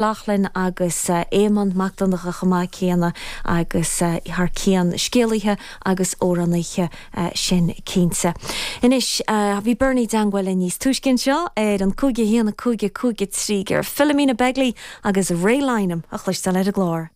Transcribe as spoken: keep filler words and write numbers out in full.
Lochlainn agus Éamonn Mac Donncha chomh maith céanna agus thar cionn scéalaithe agus amhránaithe sin cinnte. Anois bhí Bernie i dteagmháil níos túisce seo ar an cúig a haon cúig cúig trí ar Philomena Begley agus Ray Lynam a chloisteáil ar an gclár.